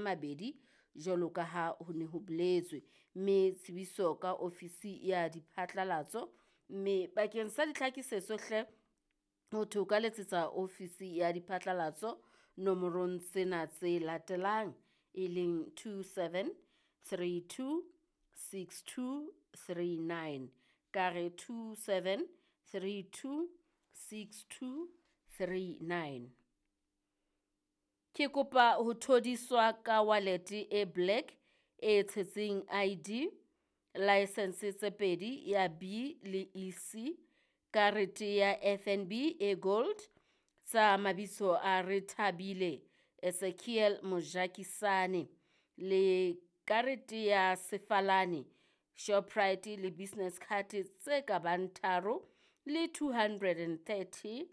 2 jwalo ka ha ho ne ho boletswe. Mme tsebiso ka ofisi ya diphatlalatso, mme bakeng sa ditlhakisetso hle ho thwe o ka letsetsa ofisi ya diphatlalatso nomorong tsena tse latelang e leng 27 32 62 39. Ka re 27 32 62 39. Ke kopa ho thodiswa ka wallet e black e tshetseng ID, license tse pedi ya B le EC, karete ya FNB e gold tsa mabitso a Rethabile Ezekiel Mojakisane le karete ya Sefalane Shoprite le business card tse ka bang tharo le 230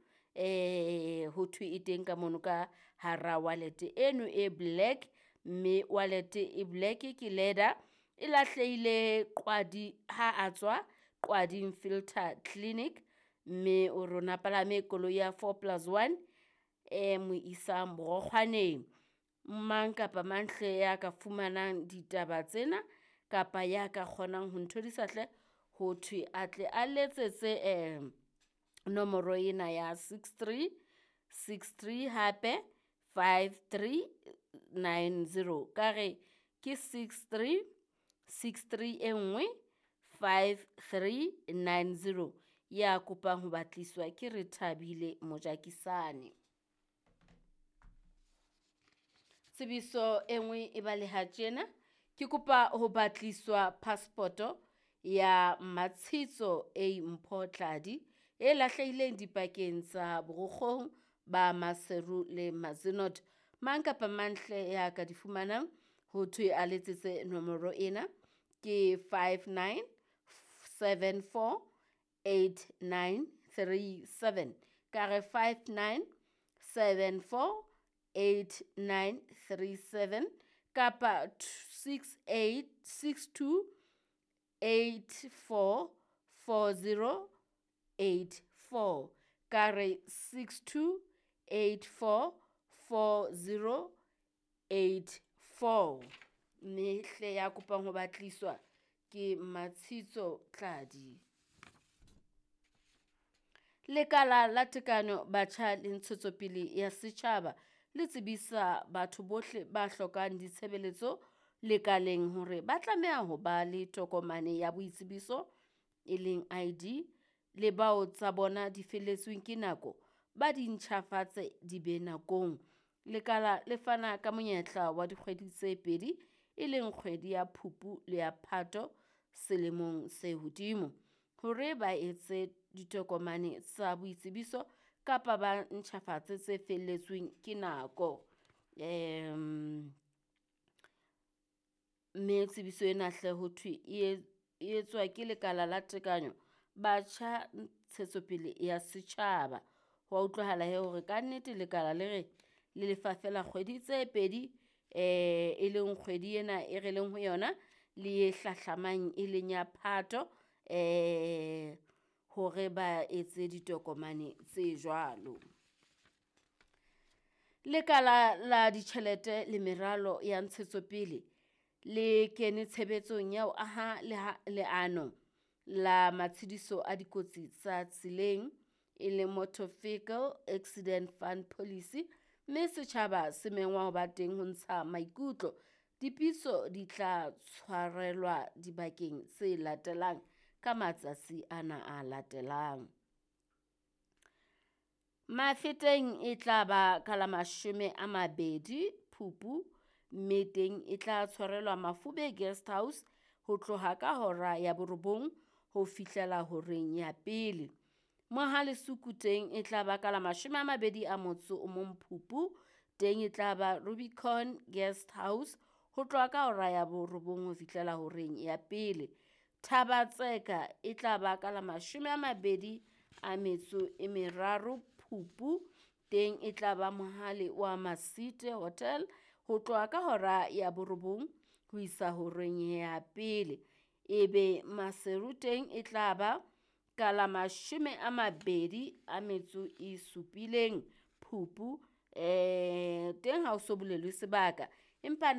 ho thwe e teng ka mono ka hara wallet eno e black, mme wallet e black ke leather e lahlehile Qwadi ha a tswa Qwading Filter Clinic, mme o rona palame koloi ya 4+1 e mo isang Borokgwaneng. Mang kapa mang hle ya ka fumanang ditaba tsena kapa ya ka kgonang ho nthodisa hle ho thwe a tle a letsetse nomoro ena ya 63 63 hape 5390. Ka re ke 63 63 e nngwe 5390 ya kopang ho batliswa ke Rethabile Mojakisane. Tsebiso e nngwe e baleha tjena, ke kopa ho batliswa passport-o ya Matshitso A Mpho Tladi e lahlehileng dipakeng tsa Borokgong ba Maseru le Mazenod. Mang kapa mang hle ya ka di fumanang ho thwe a letsetse nomoro ena ke 59 74 8937. Ka re 59 74 8937 kapa 68 62 84 40 84. Ka re 62 84 40 84. Mme hle ya kopang ho batliswa ke Matshitso Tladi. Lekala la Tekano Batjha le Ntshetsopele ya Setjhaba le tsebisa batho bohle ba hlokang ditshebeletso lekaleng hore ba tlameha ho ba le tokomane ya boitsebiso e leng ID, le bao tsa bona di felletsweng ke nako ba di ntjhafatse di be nakong. Lekala le fana ka monyetla wa dikgwedi tse pedi e leng kgwedi ya Phupu le ya Phato selemong se hodimo hore ba etse ditokomane tsa boitsebiso kapa ba ntjhafatse tse felletsweng ke nako. Mme tsebiso ena hle ho thwe e etswa ke lekala la tekanyo batjha ntshetsopele ya setjhaba. Ho a utlwahala he hore ka nnete lekala le re le lefa fela kgwedi tse pedi e leng kgwedi ena e re leng ho yona le e hlahlamang e leng ya Phato hore ba etse ditokomane tse jwalo. Lekala la ditjhelete le meralo ya ntshetsopele le kene tshebetsong ya ho aha leano la matshediso a dikotsi tsa tseleng e leng Motor Vehicle Accident Fund Policy, mme setjhaba se mengwa ho ba teng ho ntsha maikutlo. Dipitso di tla tshwarelwa dibakeng tse latelang ka matsatsi ana a latelang. Mafeteng e tla ba ka la 20 Phupu, mme teng e tla tshwarelwa Mafube Guest House ho tloha ka hora ya 9 ho fihlela horeng ya pele. Mohalesuku teng e tla ba ka la 21 Phupu, teng e tla ba Rubicon Guest House ho tloha ka hora ya 9 ho fihlela horeng ya pele. Thabatseka e tla ba ka la 23 Phupu, teng e tla ba Mohale wa Masite Hotel ho tloha ka hora ya 9 ho isa horeng ya pele. Ebe Maseru teng e tla ba ka la 27 Phupu, teng ha o so bolelwe sebaka, empa